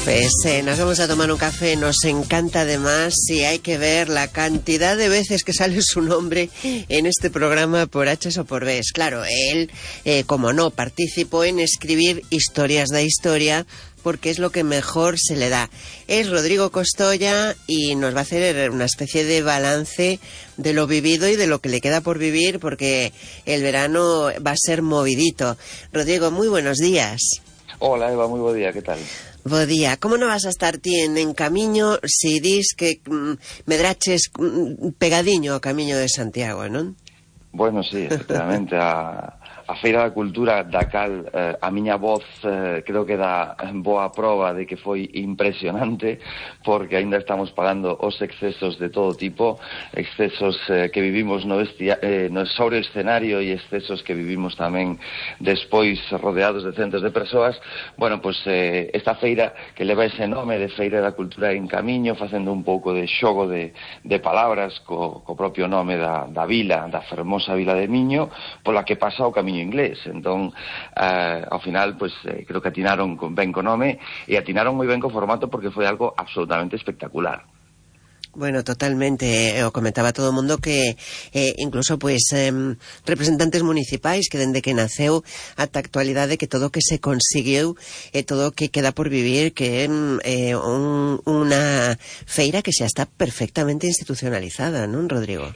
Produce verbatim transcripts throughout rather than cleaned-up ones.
Pues eh, nos vamos a tomar un café, nos encanta además, y hay que ver la cantidad de veces que sale su nombre en este programa por H o por B. Claro, él, eh, como no, participó en escribir historias de historia, porque es lo que mejor se le da. Es Rodrigo Costoya y nos va a hacer una especie de balance de lo vivido y de lo que le queda por vivir, porque el verano va a ser movidito. Rodrigo, muy buenos días. Hola Eva, muy buen día, ¿qué tal? Bo día. Como non vas a estar ti en, en camiño se dis que mm, medraches mm, pegadiño ao camiño de Santiago, non? Bueno, sí, efectivamente, a, a Feira da Cultura da cal eh, a miña voz eh, creo que dá boa proba de que foi impresionante, porque aínda estamos pagando os excesos de todo tipo, excesos eh, que vivimos no, vestia, eh, no sobre o escenario e excesos que vivimos tamén despois rodeados de centos de persoas. Bueno, pois pues, eh, esta feira que leva ese nome de Feira da Cultura en Camiño, facendo un pouco de xogo de, de palabras co, co propio nome da, da vila, da fermosa a Vila de Miño, pola que pasa o camiño inglés. Entón, eh, ao final, pues, eh, creo que atinaron con ben co nome e atinaron moi ben co formato, porque foi algo absolutamente espectacular. Bueno, totalmente. O comentaba todo o mundo que eh, incluso pues eh, representantes municipais que dende que naceu ata a actualidade, que todo o que se conseguiu e eh, todo o que queda por vivir, que é eh, un, unha feira que xa está perfectamente institucionalizada, non, Rodrigo?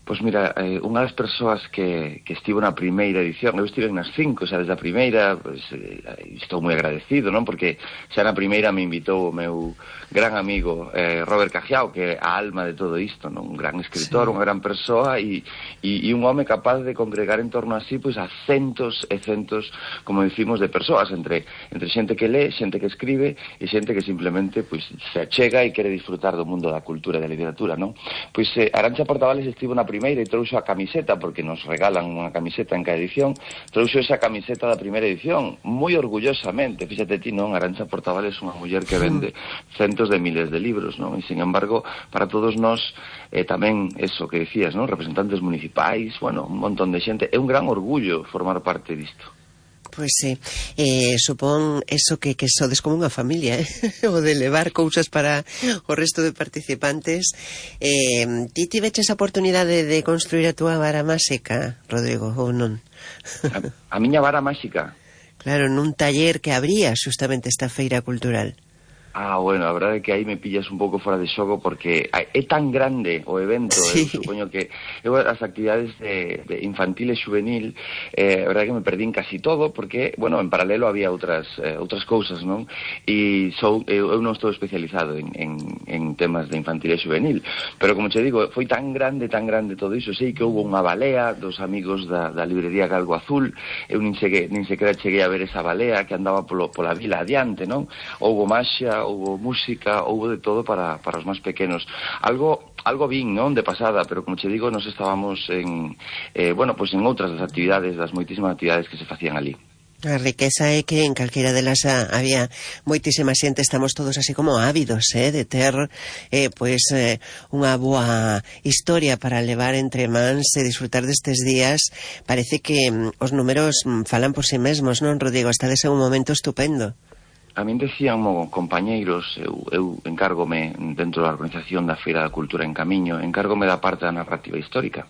Pois mira, eh, unha das persoas que, que estivo na primeira edición, eu estive nas cinco, xa desde a primeira, pues, eh, estou moi agradecido, non? Porque xa na primeira me invitou o meu gran amigo eh, Robert Cajiao, que é a alma de todo isto, non? Un gran escritor, sí, unha gran persoa e, e, e un home capaz de congregar en torno a sí, pois, a centos e centos, como decimos, de persoas, entre, entre xente que lee, xente que escribe e xente que simplemente pois, se achega e quere disfrutar do mundo da cultura e da literatura, non? Pois eh, Arantxa Portavales estivo na primeira e trouxo a camiseta, porque nos regalan unha camiseta en cada edición, trouxo esa camiseta da primeira edición, moi orgullosamente. Fíxate ti, non? Arantxa Portavales é unha muller que vende centos de miles de libros, non? E, sin embargo, para todos nós, eh, tamén, eso que decías, non? Representantes municipais, bueno, un montón de xente, é un gran orgullo formar parte disto. Pois sí, eh, supón eso que, que sodes como unha familia, eh? O de levar cousas para o resto de participantes. Eh, ti tiveches a oportunidade de construir a túa vara máxica, Rodrigo, ou non? A, a miña vara máxica? Claro, nun taller que abría xustamente esta feira cultural. Ah, bueno, a verdade é que aí me pillas un pouco fora de xogo, porque é tan grande o evento, sí. Eu supoño que eu as actividades de, de infantil e juvenil, eh, a verdade é que me perdín casi todo, porque, bueno, en paralelo había outras eh, outras cousas, non? E sou, eu, eu non estou especializado en, en, en temas de infantil e juvenil, pero como che digo, foi tan grande, tan grande todo iso, sei que houve unha balea dos amigos da, da librería Galgo Azul, eu nin, cheguei, nin sequera cheguei a ver esa balea que andaba polo, pola vila adiante, non? Houve maxia, houve música, houve de todo para, para os máis pequenos. Algo algo vin, non, de pasada, pero como che digo, nos estábamos en, eh, bueno, pues en outras das actividades, das moitísimas actividades que se facían ali. A riqueza é que en calquera delas había moitísima xente, estamos todos así como ávidos, eh, de ter eh, pois eh, unha boa historia para levar entre mans e disfrutar destes días. Parece que mm, os números mm, falan por si mesmos, non, Rodrigo? Estades en un momento estupendo. A min decían mo, compañeiros, eu, eu encárgome dentro da organización da Feira da Cultura en Camiño, encárgome da parte da narrativa histórica.